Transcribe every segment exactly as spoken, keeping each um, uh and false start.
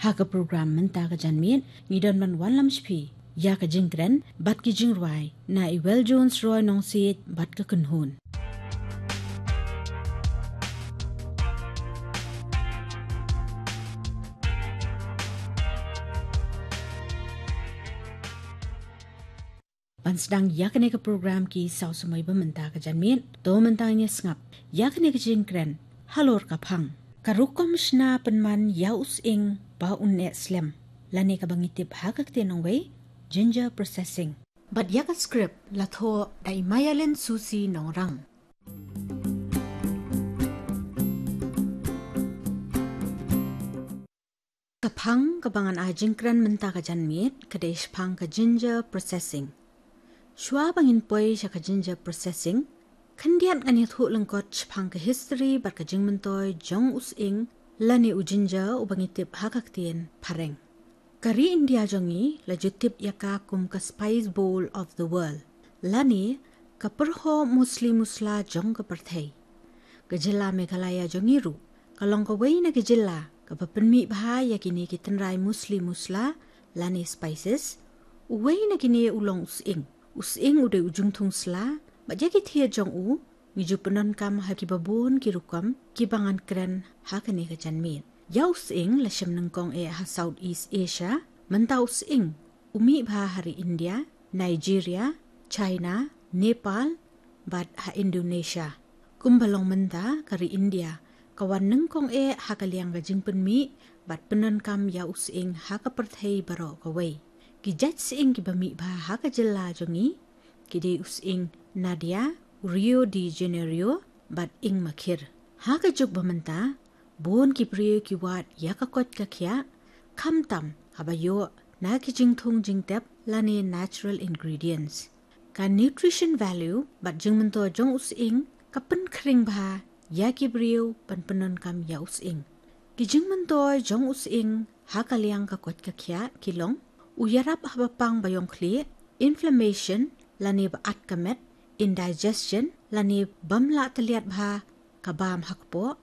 Ha ka program mynta ka janmiet, ngi don ban wanlam sha phi ïa ka jingkren bad ki jingrwai na i Well Jones Roy Nongsiej bad ka kynhun. Ban sdang ïa kane ka program ki saw samoi ba mynta ka janmiet, to mynta ngin ïa sngap ïa kane ka jingkren halor ka phang. Ka rukom shna pynman ïa u sying ba un eh slem, lane kaba ngi tip ha ka ktien nongwei, ginger processing. Bad ïa ka script la thoh da i Mayalin Susi Nongrang. Ka phang kaba ngan ai jingkren mynta ka janmiet ka dei shaphang ka ginger processing. Shuwa ba ngin poi sha ka ginger processing, khyndiat ngan ïathuh lyngkot shaphang ka history bad ka jingmyntoi jong u sying, lane u ginger uba ngi tip ha ka ktien phareng. Ka ri India jong ngi la ju tip ïa ka kum ka spice bowl of the world, lane ka pyrho musli musla jong ka pyrthei. Ka jylla Meghalaya jong ngi ruh ka long kawei na ki jylla kaba pynmih bha ïa kine ki tynrai musli musla lane spices. Uwei na kine u long u sying. U sying u dei u jingthung sla, bad ïa ki thied jong u ngi ju pyndonkam ha kiba bun ki rukom kiba ngan kren ha kane ka janmiet. Ïa u sying la shem nyngkong eh ha Southeast Asia. Mynta u sying u mih bha ha ri India, Nigeria, China, Nepal bad ha Indonesia. Kumba long mynta, ka ri India ka wan nyngkong eh ha ka liang ka jingpynmih bad pyndonkam ïa u sying ha ka pyrthei baroh kawei. Ki jait sying kiba mih bha ha ka jylla jong ngi ki dei u sying nadia, u Rio de Janeiro bad ing makhir. Ha ka juk ba mynta, bun ki briew ki wad ïa ka koit ka khiah, khamtam haba ïoh na ki jingthung jingtep lane natural ingredients. Ka nutrition value bad jingmyntoi jong u sying ka pynkhring bha ïa ki briew ban pyndonkam ïa u sying. Ki jingmyntoi jong u sying ha ka liang ka koit ka khiah ki long: u ïarap haba pang ba ïong khlieh, inflammation lane ba at ka met, indigestion lane bym lah tylliat bha ka bam ha kpoh,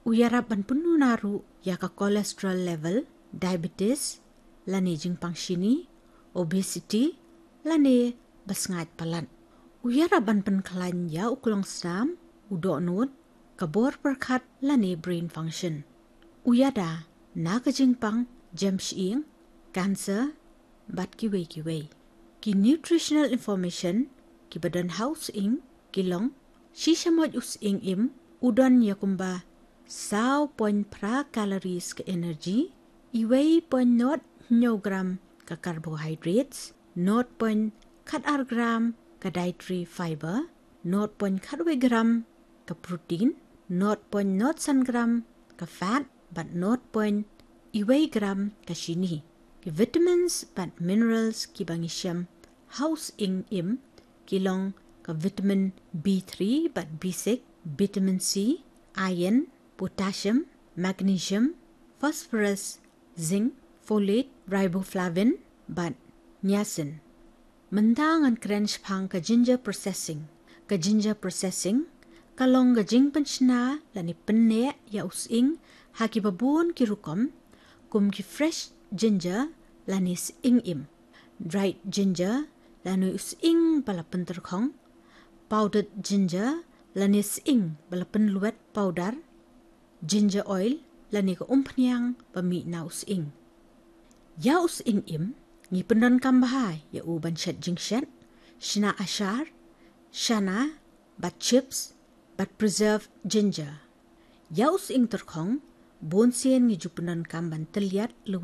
u ïarap ban pynduna ruh ïa ka cholesterol level, diabetes lane jingpang shini, obesity lane ba sngaid palat. U ïarap ban pynkhlaiñ ïa u klongsnam, u dohnud, ka bor pyrkhat lane brain function. U ïada na ka jingpang jem shyieng, cancer bad kiwei kiwei. Ki nutritional information kiba don ha u sying ki long: shisha moit u sying im u don ïa kumba saw point phra calories ka energy, iwei point nod hynñiew gram ka carbohydrates, nod point khat ar gram ka dietary fiber, nod point khat wei gram ka protein, nod point nod san gram ka fat bad nod point iwei gram ka shini. Ki vitamins bad minerals kiba ngi shem ha u sying im ki long ka vitamin B three bad B six, vitamin C, iron, potassium, magnesium, phosphorus, zinc, folate, riboflavin bad niacin. Mynta ngan kren shaphang ka ginger processing. Ka ginger processing ka long ka jingpynshna lane pynneh ïa u sying ha kiba bun ki rukom, kum ki fresh ginger lane sying im, dried ginger lane u sying ba la pyntyrkhong, powdered ginger lane sying ba la pynlwet powder, ginger oil lane ka umphniang ba mih na u sying. Ïa u sying im ngi pyndonkam bha ïa u ban shet jingshet, shna ashar, shana bad chips bad preserved ginger. Ïa u sying tyrkhong bun sien ngi ju pyndonkam ban tylliat lwet